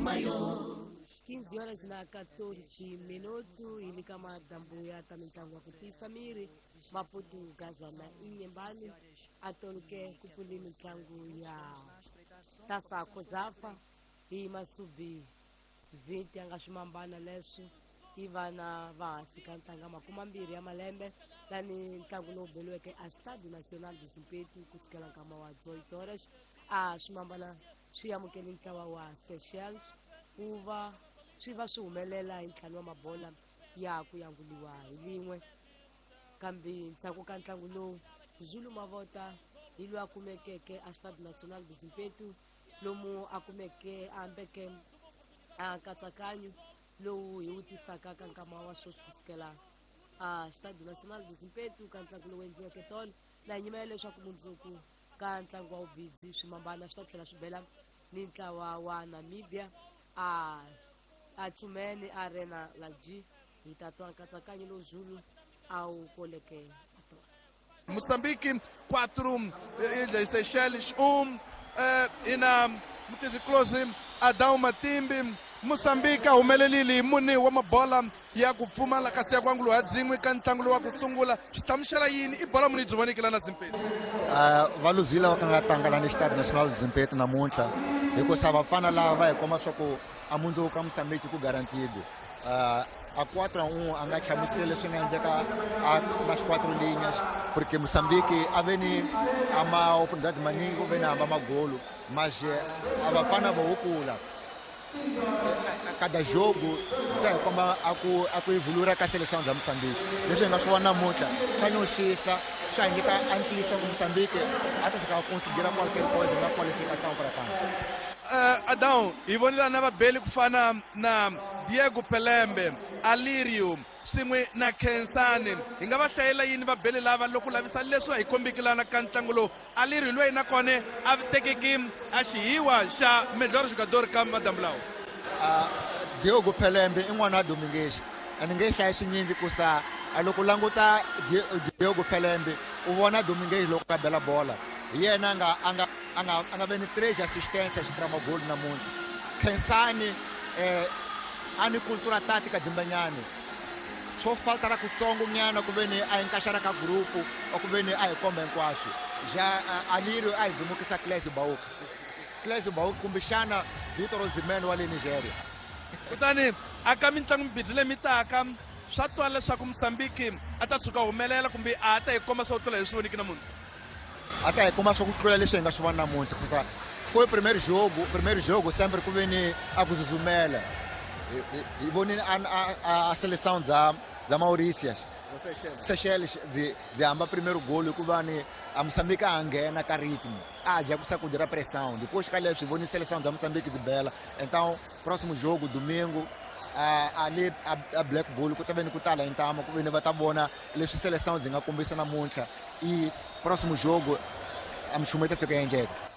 Maior. 15 horas na 14 minuto ili kama dambu ya tamitangwa kutisa miri Maputo Gazana inyembani atolke kupuli mitlangu ya tasa kozafa hi masubi 20 anga swimambana leswi i vana va hansi ka ntanga 20 ya malembe lani ntlangu lowu beliweke a Estádio Nacional de Zimpeto kusukela nkama wa 18 horas a swimambana swi amukele ntlawa wa Seychelles ku va swi va swi humelela hi ntlhanu wa mabola ya ku yanguliwa hi lin'we kambe ndzhaku ka ntlangu lowu Zulu Mavota hi loyi a kumekeke a Estádio Nacional de Zimpeto lomu a kumeke a ambeke a nkatsakanyo lowu hi wu tisaka ka nkama wa sweswi kusukela a Estádio Nacional de Zimpeto ka ntlangu lowu endliweke tolo na nyimela leswaku mundzuku ka ntlangu wa vubidzi swimambana swi ta tlhela swi bela ni ntlawa wa Namibia a Chumene Arena Laji hi ta twa nkatsakanyo lowu Zulu a wu koleke tolo. Moçambique 4, Ilhas Seychelles 1, ina Mutisi Close Adão Matimbi. Moçambique a humelelile hi mune wa mabola ya ku pfumala kasi ya ku anguliwa byin'we ka ntlangu lowu wa ku sungula. Swi hlamusela yini i bola muni yi byi voneke lana Zimpeto? Va luzile va ka nga tlanga lani Estádio Nacional de Zimpeto namuntlha hikusa vafana lava va hi komba swa ku a mundzuku ka Moçambique ku guaranteed. A 4-1 a nga hlamuseli leswi nga endleka a nas 4 linhas porque Moçambique a ve ni a ma oportunidade maningi ku ve ni hamba magolo mas a vafana vo wukula cada jogo swi ta hi komba a ku evoluir ka seleção za Moçambique. Leswi hi nga swi vona namuntlha swa nyoxisa, swa hi nyika a ntiyiso ku Moçambique a ta sika conseguir qualquer coisa na qualificação para CAN. Adão, hi vonile na vabeli ku fana na Diego Pelembe, Alirio swin'we na Khensani. Hi nga va hlayela yini vabeli lava loko lavisa leswi hi kombiki lana ka ntlangu lowu? Alirio loyi na kona a tekeki a xihiwa xa melhor jogador ka madambu lawa. Diogo Pelembe i n'wana wa Domingues. A ni nge hlayi swinyingi kusa a loko languta Diogo Pelembe u vona Domingues loko a bela bola. Hi yena a nga ve ni 3 assistências pra magoli namuntlha. Khensani a ni cultura tática dzimbanyani. Swo falta ra kutsongo nyana ku ve ni a encaixar ka grupo or ku ve ni a hi komba hinkwaswo. Já Alirio a hi dzumukisa Clésio Bauca. Clésio Bauca kumbexana Victor Osimhen wa le Nigeria. Kutani aka mitlangu mibirhi leyi mi taka swa twala leswaku Moçambique a ta tshuka humelela kumbe a ta hi komba swo tlula leswi voniki namuntlha. A ta hi komba swa ku tlula leswi hi nga swi vona namuntlha kusa foi primeiro jogo, primeiro jogo sempre ku ve ni a ku zuzumela. Hi vonile a seleção za Mauritius. Seychelles dzi hamba primeiro gol hikuva ni a Moçambique a nghena ka ritmo. A dya ku sacudir a pressão. Depois ka leswi hi vonile seleção za Moçambique dzi bela. Então próximo jogo domingo ali a Black Bull ku ta ve ni ku tala intama ku ve ni va ta vona leswi seleção dzi nga kombisa namuntlha. E próximo jogo a minchumu yi ta tshuka yi endleka.